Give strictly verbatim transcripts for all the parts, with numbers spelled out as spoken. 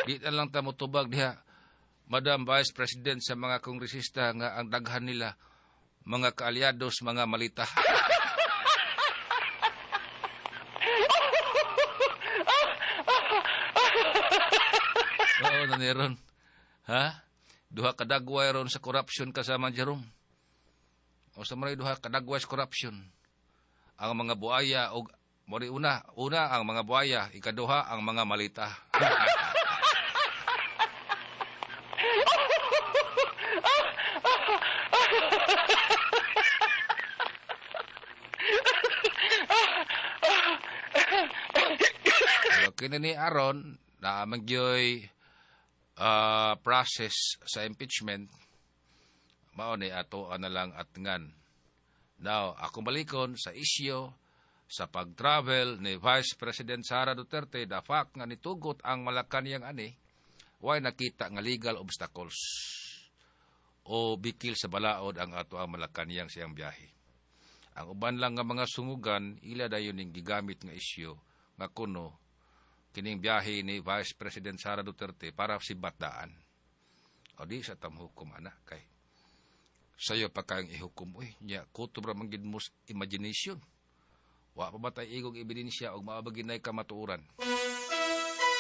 Di na lang ta motubag diha, Madam Vice President, sa mga kongresista nga ang daghan nila mga kaalyados, mga malita. Oo, naniron. Ha? Duha kadagway ron sa corruption kasama Jerome. O sa mga duha kadagway sa corruption. Ang mga buaya og mori una, una ang mga buaya, ikaduha ang mga malita. Pero kini ni aron na magyoy uh, process sa impeachment, mao ni ato na lang atngan. Now, ako balikon sa isyu sa pag-travel ni Vice President Sara Duterte, the fact nga nitugot ang Malacanang ani, way nakita nga legal obstacles o bikil sa balaod ang ato ang Malacanang siyang biyahe. Ang uban lang nga mga sungugan, ila dayon ning gigamit nga isyu nga kuno kining biyahe ni Vice President Sara Duterte para sibatdaan. O di sa tamhukom ana kay sayo pa kayang ihukom uy nya kutob ra man gid mo imagination. Wa pa ba tay igong ebidensya og maabagin nay kamatuoran.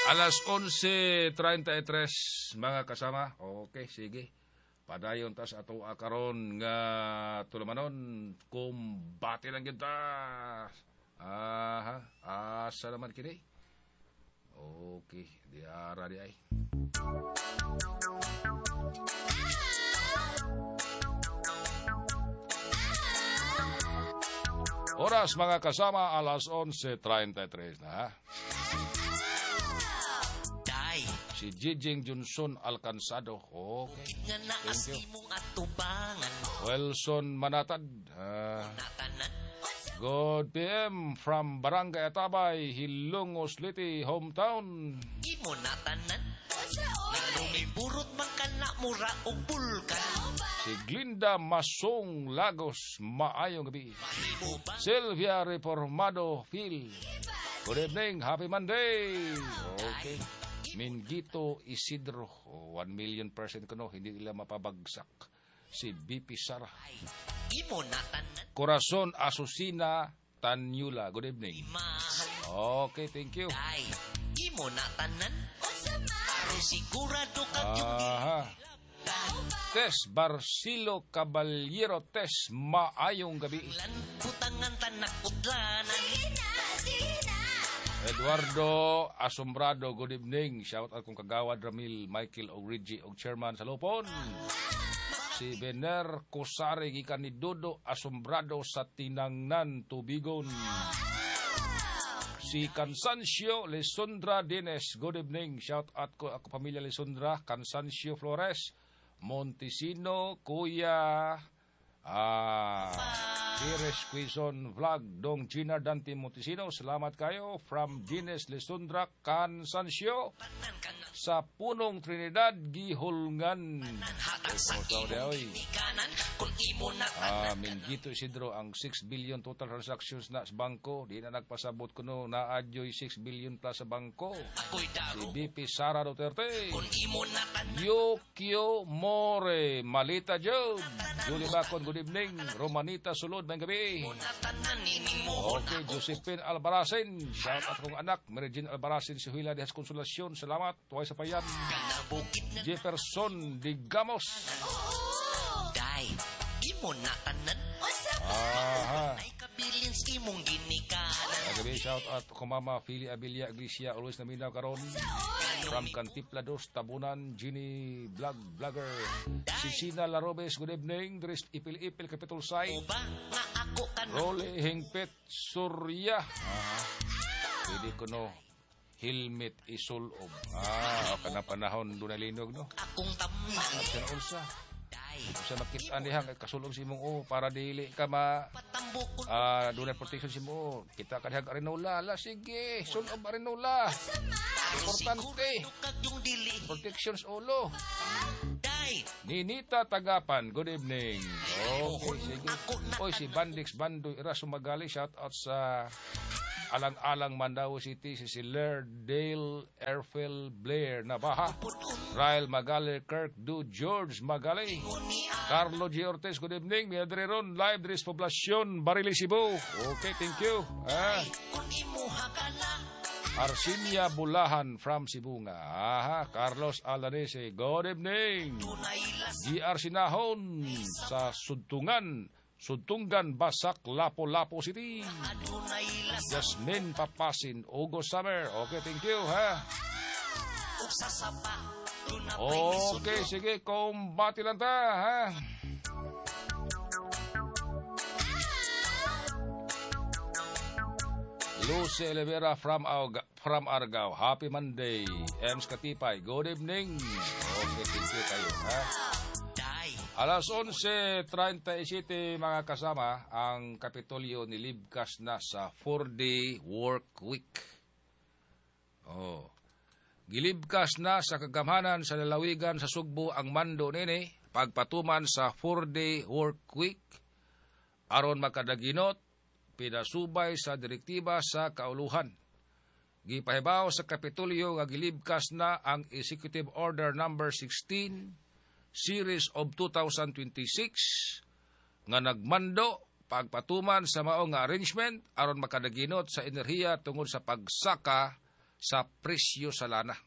Alas onse treinta y tres mga kasama. Okay, sige. Padayon tas ato karon nga tulumanon kumbate lang gyud ta. Aha, asa naman kini? Okay, di ara di ay. Oras mga kasama, alas onse treinta y tres na ha. Day. Si Jijing Johnson Alcanzado. Okay. Thank you. Wilson Manatad. Uh, good P M from Barangay Atabay, Hilongos Liti, hometown. Imo na tanan. Burot man ka na mura og bulkan. Si Glinda Masong Lagos, maayong gabi. Sylvia Reformado Phil. Good evening, happy Monday. Okay. Mingito Isidro, one million percent kuno, hindi nila mapabagsak. Si B P Sara. Corazon Asusina Tanyula, good evening. Okay, thank you. Aha. Tess Barcilo Caballero Tess, maayong gabi. Eduardo Asombrado, good evening. Shout out kong kagawad Ramil Michael Origi og chairman sa Lupon. Si Bener Cosare gikan ni Dodo Asombrado sa Tinangnan, Tubigon. Si Cansancio Lisondra Dines, good evening. Shout out ko ako pamilya Lisondra, Cansancio Flores, Montesino, Kuya, ah, Pires Quezon Vlog, Dong Gina Dante Montesino. Salamat kayo from Dines Lisondra, Cansancio, sa Punong Trinidad, Gihulngan. Ah, Mingito Isidro, ang six billion total transactions na sa bangko. Di na nagpasabot kuno na adyo'y six billion plus sa bangko. Si B P Sara Duterte. Yukio More, Malita Job, Julie Bacon, good evening. Romanita Sulod, may gabi. Okay, Josephine Albaracin, shout out kong anak, Mary Jean Albaracin, si Huila Dihas Consolacion, salamat, tuway sa payan. Jefferson Digamos. Aha. Gabi, shout out ko mama Fili Abilia Iglesia, always na minaw karon. From Cantipla dos, Tabunan, Ginny Vlog Vlogger. Sisina Larobes, good evening. Dres Ipil-Ipil, Capitol Side. Role Hingpit Surya. Ah, pwede ko no helmet isulob. Ah, kana panahon doon linog no. At siya unsa. Unsa makita niya kasulob si imong o para dili ka ma ah uh, doon protection si mo. Kita ka diha arinola. La sige, sulob arinola. Importante. Protections ulo. Ninita Tagapan, good evening. Okay, sige. Oy, si Bandix Bandoy Ira Sumagali, shout out sa Alang-alang Mandaue City, si Siler Dale Erfel Blair Nabaha, Rael Magali Kirk Du George Magali, Carlo G. Ortiz, good evening. Miadre ron, live diri sa Poblacion, Barili, Cebu. Okay, thank you. Ah. Arsinia Bulahan from Sibonga. Aha, Carlos Alanese, good evening. G R. Sinahon sa Sudtungan, Sudtunggan, Basak, Lapu-Lapu City. Jasmine Papasin, Ugo Summer. Okay, thank you, ha. Okay, sige, kumbati lang ta, ha. Lucy Olivera from, Auga, from Argao. Happy Monday. Ems Katipay, good evening. Okay, thank you kayo, ha. Alas onse trenta y siyete, mga kasama, ang Kapitolyo nilibkas na sa four-day work week. Oh. Gilibkas na sa kagamhanan sa lalawigan sa Sugbo ang mando nini pagpatuman sa four-day work week aron makadaginot pinasubay sa direktiba sa kauluhan. Gipahibaw sa Kapitolyo nga gilibkas na ang Executive Order Number sixteen Series of twenty twenty-six nga nagmando pagpatuman sa mao nga arrangement aron makadaginot sa enerhiya tungod sa pagsaka sa presyo sa lana.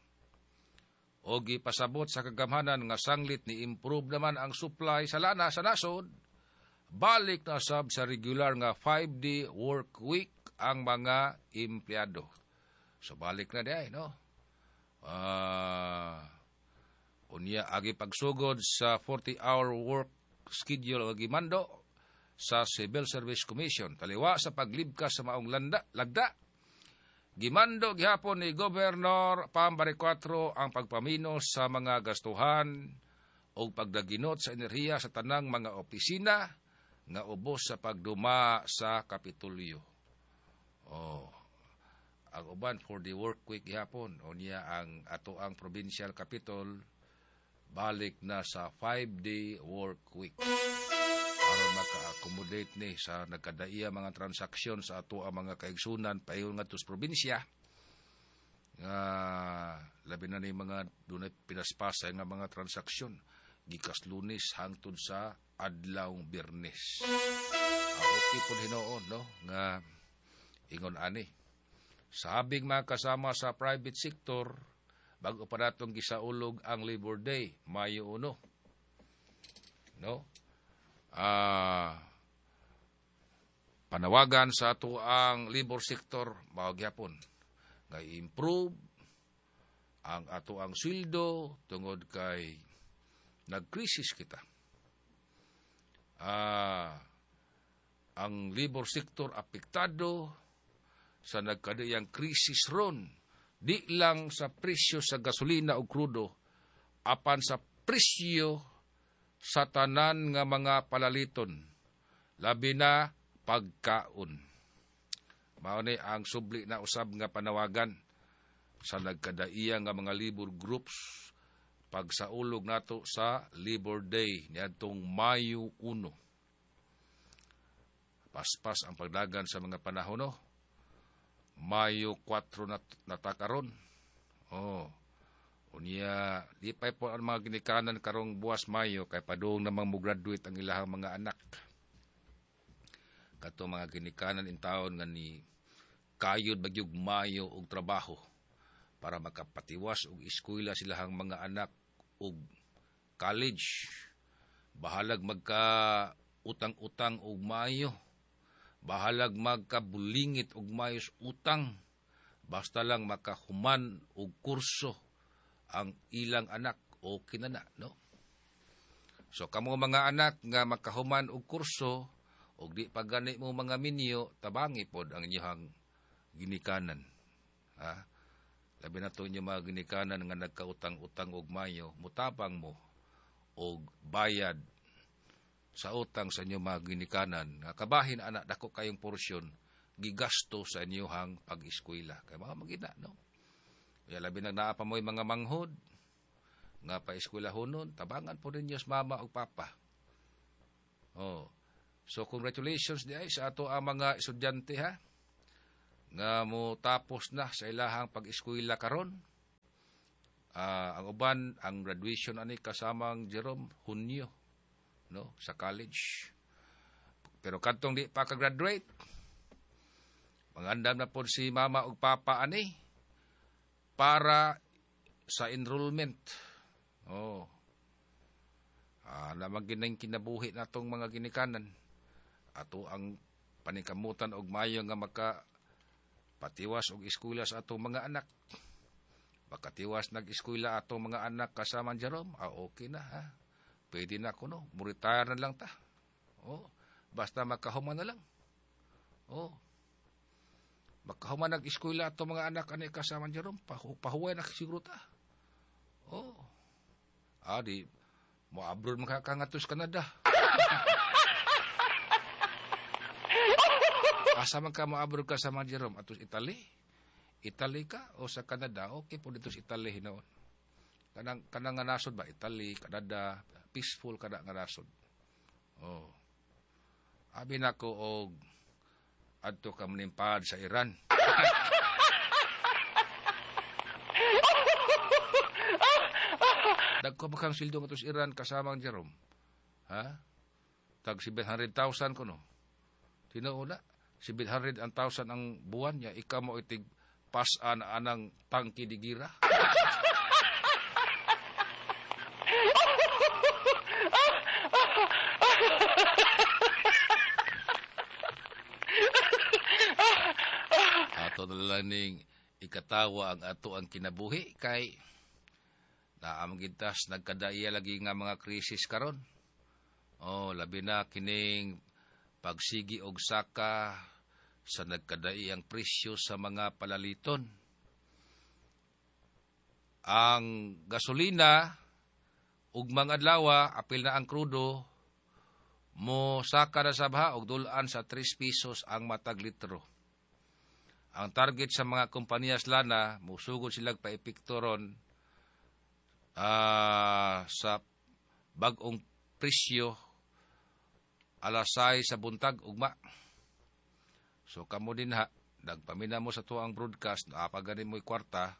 O gipasabot sa kagamhanan nga sanglit ni improve naman ang supply sa lana sa nasod, balik na sab sa regular nga five-day work week ang mga empleyado. So balik na diay, no? Ah, uh, unya agi pagsugod sa forty-hour work schedule ang gimando sa Civil Service Commission. Taliwa sa paglibkas sa maong landa, lagda, gimando gihapon ni Governor Pam Baricuatro ang pagpaminos sa mga gastuhan o pagdaginot sa enerhiya sa tanang mga opisina nga ubos sa pagduma sa Kapitolyo. Oh, ang uban for the work week gihapon. Unya ang ato ang provincial capitol balik na sa five-day work week aron maka-accommodate ni sa nagkadaiya mga transaksyon sa ato ang mga kaigsunan paingon ngadto sa probinsya nga labi na ni mga dunay pinaspasay nga mga transaksyon gikas Lunes hangtod sa adlaw Biyernes. Ah, okay po hinuon, no, nga ingon ani. Sabing mga kasama sa private sector, bago pa natong gisaulog ang Labor Day, Mayo uno. No? Ah, panawagan sa ato ang labor sector mao gyapon nga i-improve ang ato ang sweldo tungod kay nagkrisis kita. Ah, ang labor sector apektado sa nagkadiyang krisis ron, di lang sa presyo sa gasolina o krudo, apan sa presyo sa tanan nga mga palaliton, labi na pagkaon. Mao ni ang subli na usab nga panawagan sa nagkadaiya nga mga labor groups pagsaulog nato sa Labor Day niadtong Mayo uno. Paspas ang pagdagan sa mga panahon, no? Mayo kwatro na natakaron. Oh. Unya, lipay po ang mga ginikanan karong buwas Mayo kay padung namang mo graduate ang ilahang mga anak. Kato mga ginikanan in taon nga ni kayod bagyog Mayo og trabaho para makapatiwas og eskwela silahang mga anak og college. Bahalag magka utang-utang og Mayo. Bahalag magkabulingit og mayos utang. Basta lang makahuman og kurso ang ilang anak o kinana, no? So kamo mga anak nga makahuman og kurso og di pa gani mo mga minyo, tabangi pod ang inyong ginikanan. Ha? Labi na to inyo mga ginikanan nga nagkautang-utang og mayo, mutabang mo og bayad sa utang sa inyong mga ginikanan nga kabahin ana dako kayong porsyon gigasto sa inyong pag-eskwela. Kay mga magina, no? Kaya labi na naa pa mo'y mga manghod nga pa-eskwela hunon, tabangan po ninyo sa mama o papa. Oh. So congratulations di ay sa ato ang mga estudyante, ha, nga mo tapos na sa ilahang pag-eskwela karon. Uh, ang uban ang graduation ani kasamang Jerome Hunyo, no, sa college. Pero kadtong di pa ka-graduate, mangandam na pod si mama ug papa ani para sa enrollment. Oh. Ah, lamang ginang kinabuhi natong mga ginikanan. Ato ang paningkamutan og maayo nga maka patiwas og eskwela sa atong mga anak. Makatiwas nag-eskwela atong mga anak kasama Jerome, ah, okay na ha. Pwede na kuno, mo-retire na lang ta. Oh, basta makahuman na lang. Oh. Makahuman nag-eskwela atong mga anak ani kasama Jerome, pahu pahuway na siguro ta. Oh. Ah, di mo abroad makakangatos Canada. Asa man ka mo-abroad ka sa mga Jerome? Atos Italy? Italy ka o sa Canada? Okay po dito sa Italy hinoon. Kanang, kanang nga nasod ba? Italy, Canada, peaceful kada nga nasod. Oh. Abi nako og adto ka manimpad sa Iran. Dagko ba kang sildo nga sa Iran kasamang Jerome? Ha? Tag seven hundred thousand kuno. Tinuod na. seven hundred thousand ang buwan niya, ikaw mo itig pasan anang tangki di gira. Ato na lang ning ikatawa ang ato ang kinabuhi kay naamang gintas nagkadaiya lagi nga mga krisis karon. Oh, labi na kining pagsigi og saka sa nagkadaiyang presyo sa mga palaliton. Ang gasolina ug mga adlaw apil na ang krudo mo saka na sabha og dulaan sa tres pesos ang matag litro. Ang target sa mga kompanyas lana musugod silag paepekto ron uh, sa bag-ong presyo alas sais sa buntag ugma. So kamo din ha, nagpamina mo sa tuang broadcast, naapaganin mo'y kwarta,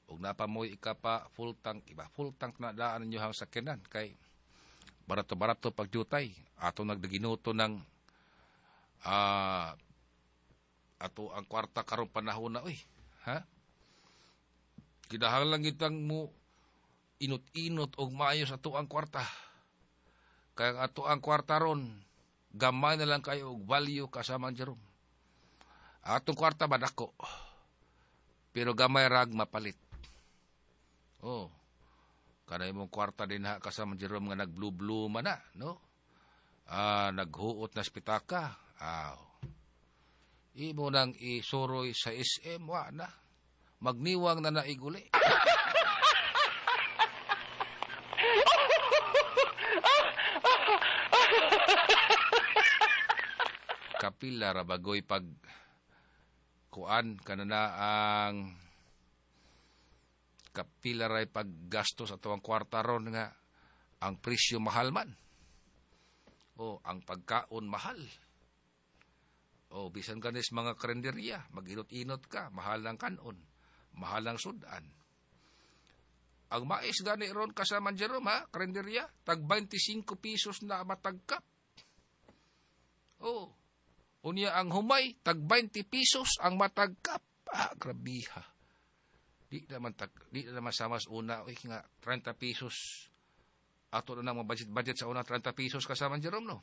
ug napa mo'y ikapa full tank, iba full tank na daan ninyo hang sakyanan kay barato-barato pagjutay. Ato nagdaginuto ng uh, ato ang kwarta karong panahon na oy, ha? Kinahanglan gitang mo inot-inot og maayo sa ato ang kwarta. Kaya ang ato ang kwarta ron, gamay na lang kayo og value kasama ang Jerome. Atong kwarta ba dako? Pero gamay rag mapalit. Oh. Kanay mong kwarta din ha kasama Jerome nga nag-blue-blue man na, no? Ah, naghuot na spitaka. Aw. Imo nang isuroy sa S M, wa na. Magniwang na naiguli. Kapila ra bagoy pag kuan kanana ang kapila ray paggasto sa tuwang kwarta ron nga ang presyo mahal man. O ang pagkaon mahal. O bisan ganis mga karinderya, mag-inot-inot ka, mahal ang kanon, mahal ang sudan. Ang mais gani ron kasama Jerome ha, karinderya, tag twenty-five pesos na matagkap. O unya ang humay, tag twenty pesos ang matagkap. Ah, grabiha. Di naman, tag, di na naman sama sa una, uy, nga, thirty pesos. Ato na nang budget-budget sa una, thirty pesos kasama Jerome, no?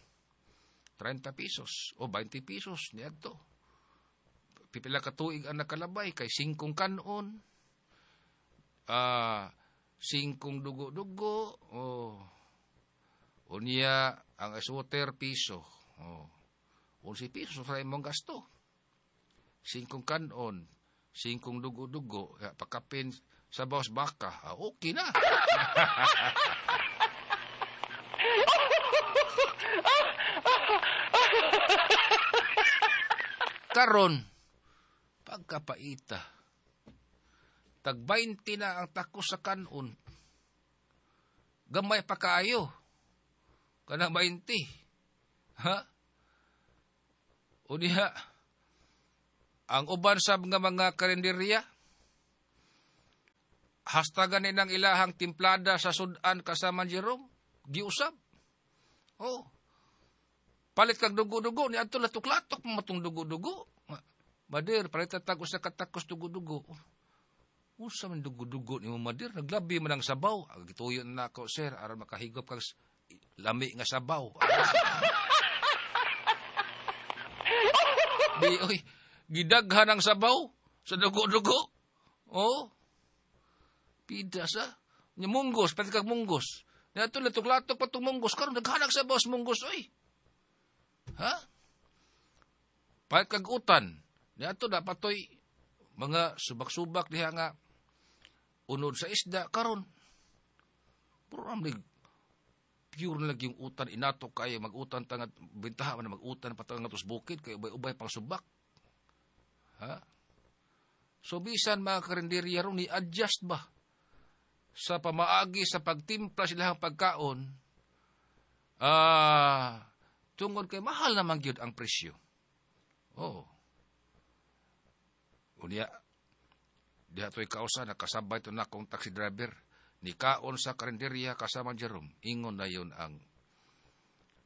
thirty pesos o twenty pesos, niadto. Pipila ka tuig ang nakalabay, kay singkong kanon, ah, singkong dugo-dugo, oh. Unya, ang ice water, piso, oh. eleven pesos sa imong gasto. Singkong kanon, singkong dugo-dugo, pakapin sa bawas baka, ah, okay na. Karon, pagkapaita, tag twenty na ang tako sa kanon. Gamay pa kaayo. Kanang twenty. Ha? O diha, Ang uban sab nga mga karinderya, hasta gani ng ilahang timplada sa sudan kasama Jerome, giusab. Oh. Palit kag dugo-dugo ni adto latok-latok matong dugo-dugo. Madir, palit tag usa ka takos dugo-dugo. Usa man dugo-dugo nimo madir, naglabi man ang sabaw. Gituyo na nako sir aron makahigop kag lami nga sabaw. Di oy, gidaghan ang sabaw sa dugo-dugo. Oh. Pida sa nya munggos, palit kag munggos. Ni adto latok-latok pa tong munggos karon daghan ang sabaw sa munggos oy. Ha? Palit kag utan. Ni adto dapat toy mga subak-subak diha nga unod sa isda karon. Puro amlig pure na lang yung utan inato kayo mag-utan tangad bintaha man mag-utan patang nga bukid kay ubay-ubay pang subak. Ha? So bisan mga karinderya ron ni adjust ba sa pamaagi sa pagtimpla sila ang pagkaon, ah, uh, tungod kay mahal naman gyud ang presyo. Oh. Unya, diha to'y kausa, nakasabay to na akong taxi driver, ni kaon sa karinderya kasama Jerome. Ingon na yun ang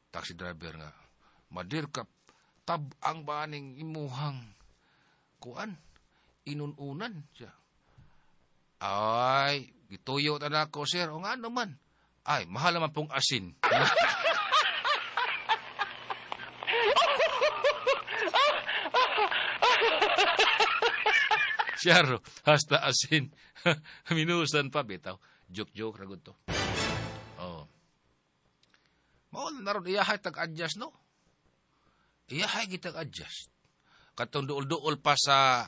taxi driver nga, madir ka, tab-ang ba ning imuhang kuan, inununan siya. Ay, gituyo ta na ako, sir. O nga naman. Ay, mahal naman pong asin. Siyaro, hasta asin. Minusan pa, bitaw. Joke-joke, ragod to. Oh. Mao na ron, iyahay tag-adjust, no? Iyahay gitag-adjust. Katong duol-duol pa sa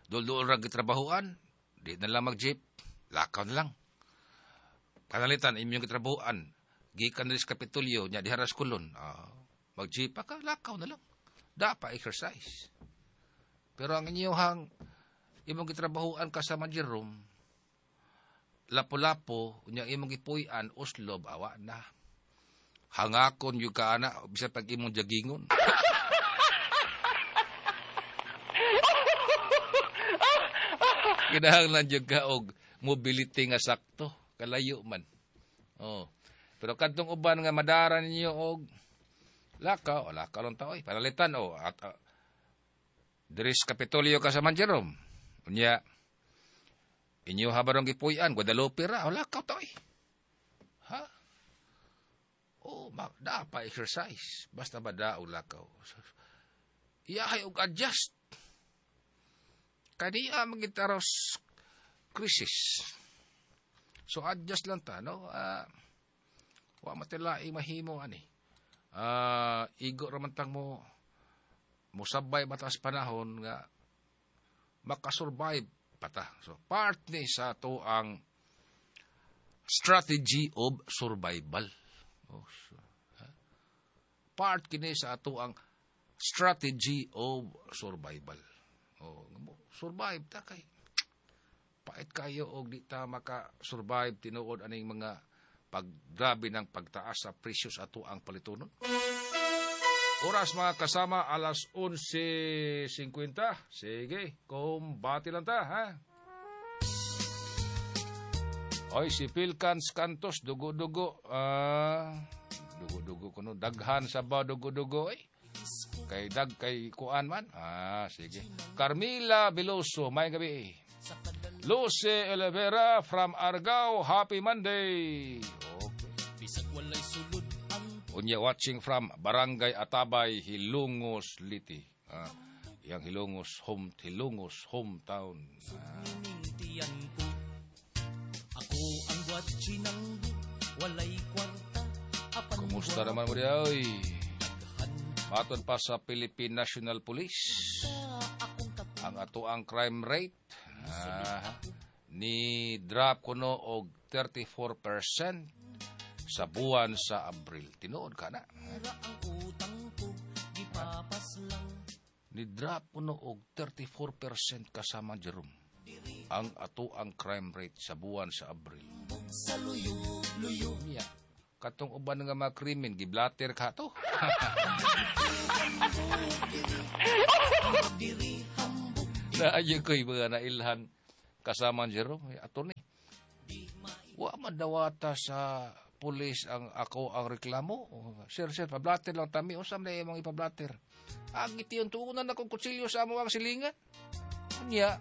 duol-duol ra gitrabahuan, di na lang mag-jeep, lakaw na lang. Kanalitan, inyong gitrabahuan, gikan na sa Kapitolyo, nya diha ra sa Kulon, uh, mag-jeep pa ka, lakaw na lang. Da pa exercise. Pero ang inyong imong gitrabahuan kasama Jerome, lapo-lapo, unya imong gipuy-an, uslob, awa na. Hangakon yung ka ana, bisa pag imong jagingon. Kinahanglan jud ka og mobility nga sakto, kalayo man. Oh. Pero kadtong uban nga madara ninyo og lakaw, o lakaw lang ta oy, panalitan o at uh, diri sa Kapitolyo ka sa Jerome. Unya inyo habarong gipuy-an Guadalupe ra, o lakaw ta oy. Ha? Oh, ma, da pa exercise, basta ba da og lakaw. Iyahay og adjust. Kaniya magitaros crisis. So adjust lang ta, no? Uh, wa matilai mahimo ani. Uh, igo ra man tang mo mosabay batas panahon nga makasurvive pata. So part ni sa to ang strategy of survival. Oh, so, ha? Part kini sa ato ang strategy of survival. Oh, survive ta kay pait kayo og di ta maka-survive tinuod aning mga paggrabe ng pagtaas sa presyo sa ato ang palitonon. Oras mga kasama, alas onse singkwenta. Sige, kumbati lang ta, ha? Oy, si Philcans Cantos, dugo-dugo. Ah, dugo-dugo kuno daghan sa ba dugo-dugo eh. Kay dag kay kuan man. Ah, sige. Carmila Veloso, may gabi. Lucy Olivera from Argao, happy Monday. Okay. Unya watching from Barangay Atabay, Hilongos, Liti. Ah, yang Hilongos home, Hilongos hometown. Ah. Kumusta naman mo diya, oy? Maton pa sa Philippine National Police. Ang ato ang crime rate ah, ni drop kuno og thirty-four percent sa buwan sa Abril. Tinuod ka na. Ni drop kuno og thirty-four percent kasama Jerome ang ato ang crime rate sa buwan sa Abril. Yeah. Katong uban nga mga krimen, giblater ka to. Naayo ko'y mga nailhan kasama Jerome, attorney. Wa man dawata sa pulis ang ako ang reklamo. Sir, sir, pablater lang tami. Unsa man imong ipablater? Ang itiyon tuunan akong kutsilyo sa amo ang silingan. Unya,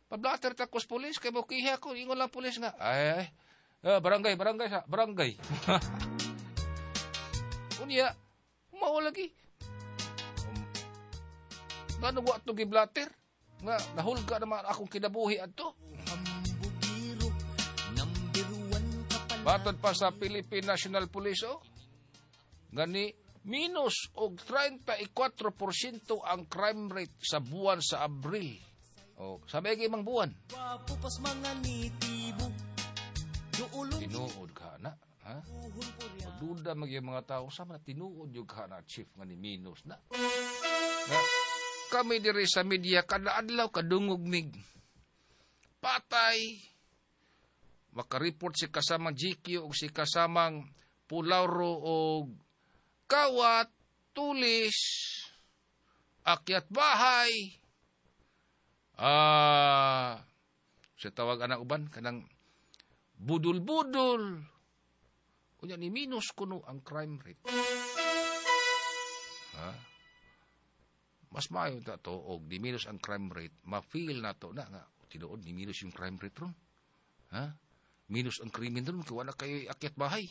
pablater ta kos pulis kay mokiha ko. Ingon lang pulis nga. Ay, ay, ah, barangay, barangay sa barangay. Unya, mao lagi. Um, ngano wa to giblater? Nga nahulga naman akong kinabuhi adto. Matod pa sa Philippine National Police, oh, gani minus og trenta'y kwatro porsyento ang crime rate sa buwan sa Abril. O, sa may imang buwan. Tinuod ka na. Ha? Magduda mag yung mga tao, sama na tinuod yung ka na, chief, nga ni minus na. Na kami diri sa media, kada adlaw, kadungog mig. Patay! Makareport si kasamang G Q o si kasamang Pulauro o kawat, tulis, akyat bahay. Ah, sa tawag anak uban, kanang budul-budul. Unya ni minus kuno ang crime rate. Ha? Mas maayo ta to og di minus ang crime rate, ma-feel na to na nga tinuod ni minus yung crime rate ron. Ha? Minus ang krimen ron kay wala kayo'y akyat bahay.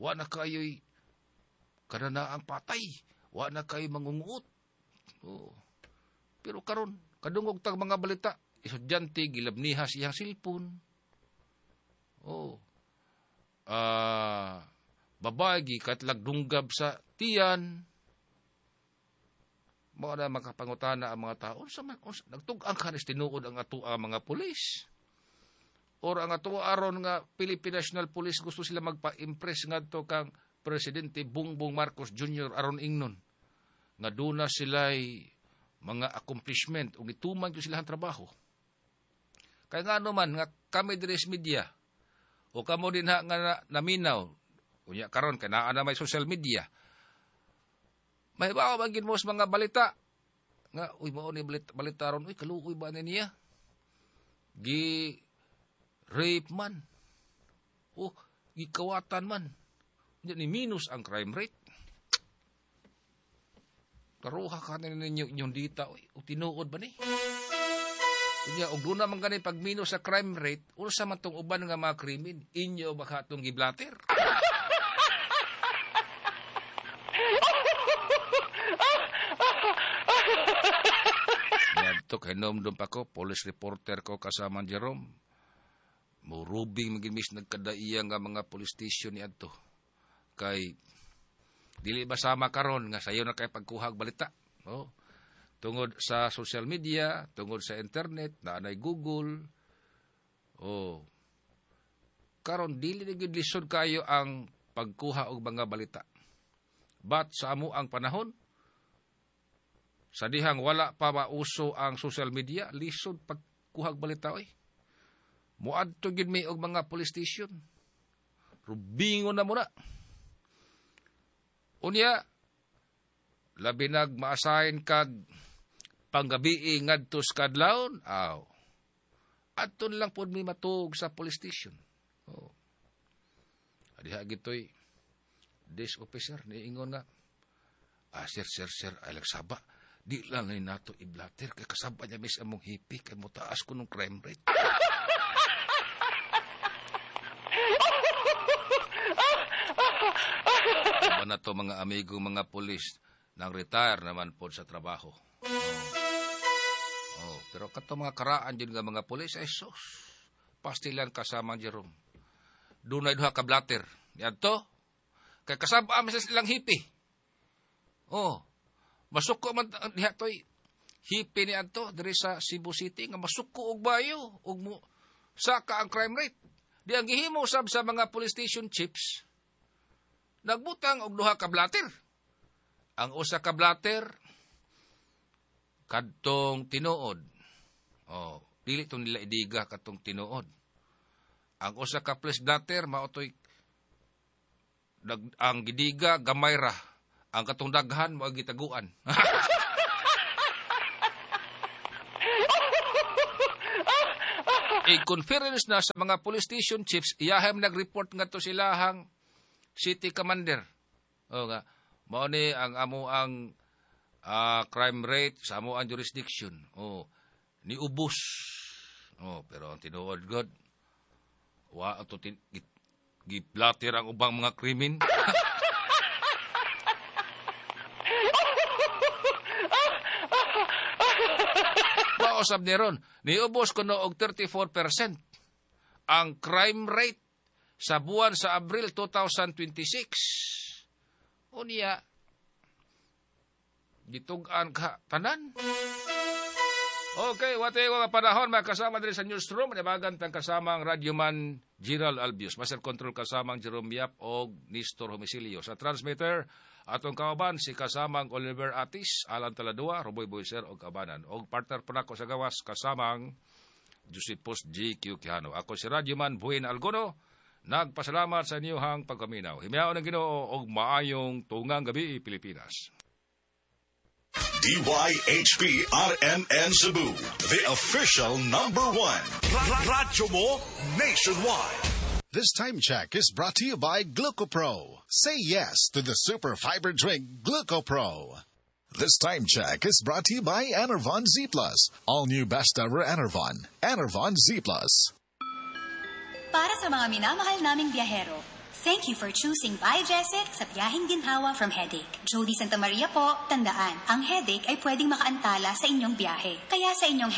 Wala kayo'y kanana ang patay. Wala kayo'y mangunguot. Oh. Pero karon kadungog tag mga balita, estudyante gilabniha siyang silpon. Oh. Ah, uh, babae gikatlag dunggab sa tiyan. Mao na makapangutana ang mga tao, unsa man unsa nagtug-ang kanis tinuod ang ato ang mga pulis. Or ang ato aron nga Philippine National Police gusto sila magpa-impress ngadto kang Presidente Bongbong Marcos Junior aron ingnon nga duna sila'y mga accomplishment ug gituman gyud sila ang trabaho. Kay ngano man nga kami diri sa media o kamo dinha nga na, naminaw unya karon kay naa na may social media, mahibaw man gid mo sa mga balita nga uy mao ni balita, balita ron, uy kaluoy ba ni niya gi rape man, oh gikawatan man, unya ni minus ang crime rate. Karuha ka na ninyo inyong dita, uy, o tinuod ba ni? Unya, og doon naman gani pag minus sa crime rate, unsa man tong uban nga mga krimen, inyo baka itong giblater? Ngadto kay nomdom pa ko, police reporter ko kasama Jerome. Murubing magimis nagkadaiya nga mga police station ni adto. Kay dili ba sama karon nga sayo na kay pagkuhag balita, no? Tungod sa social media, tungod sa internet, naanay Google. Oh. Karon dili na gyud lisod kayo ang pagkuha og mga balita. But sa amo ang panahon, sa dihang wala pa mauso ang social media, lisod pagkuhag balita oy. Muadto gyud mi og mga police station. Rubingon na muna. Unya, labi nag maasahin kag panggabii ngadto sa kadlawon, aw. Adto lang pod mi matuog sa police station. Oh. Adiha gitoy desk officer niingon nga, ah, sir, sir, sir, ay lagsaba. Di lang ni nato iblater kay kasaba niya mis among hipi kay motaas ko nung crime rate. Iba na to mga amigo, mga pulis nang retire naman po sa trabaho. Oh. Oh, pero kato mga karaan din nga mga pulis ay sus. Pastilan kasama Jerome. Dunay duha ka blatter. Yadto kay kasaba mi sa silang hipi. Oh. Masuko man diha toy hipi ni adto diri sa Cebu City nga masuko og bayo ug mo saka ang crime rate. Di ang gihimo sab sa mga police station chiefs, nagbutang og duha ka blatter. Ang usa ka blatter kadtong tinuod. Oh, dili to nila idiga kadtong tinuod. Ang usa ka police blatter mao toy ang gidiga gamay ra. Ang katong daghan mao gitaguan. I-conference na sa mga police station chiefs, iyahem nag-report nga to silahang city commander. O nga, mao ni ang amo ang ah, crime rate sa amo ang jurisdiction. O niubos. O pero ang tinuod god, wa ato tin gi- giplater ang ubang mga krimen. Mausab ni ron, niubos kuno og thirty-four percent ang crime rate sa buwan sa Abril twenty twenty-six. Unya, gitug-an ka tanan. Okay, wate ko nga panahon makasama diri sa newsroom, nabagan tang kasama ang radyoman Gerald Albius, master control kasamang Jerome Yap og Nestor Homisilio. Sa transmitter, atong kauban si kasamang Oliver Atis, Alan Taladua, Roboy Boyser og kabanan. Og partner po nako sa gawas kasamang Josephus G. Q. Quijano. Ako si radyoman Buhin Algono, nagpasalamat sa inyong pagkaminaw. Himayaon ng Ginoo og maayong tungang gabi, Pilipinas. D Y H P R M N Cebu, the official number one. Radyo mo nationwide. This time check is brought to you by GlucoPro. Say yes to the super fiber drink GlucoPro. This time check is brought to you by Enervon Z Plus. All new best ever Enervon. Enervon Z Plus. Para sa mga minamahal naming biyahero, thank you for choosing Biogesic sa biyaheng ginhawa from headache. Jody Santa Maria po, tandaan, ang headache ay pwedeng makaantala sa inyong biyahe. Kaya sa inyong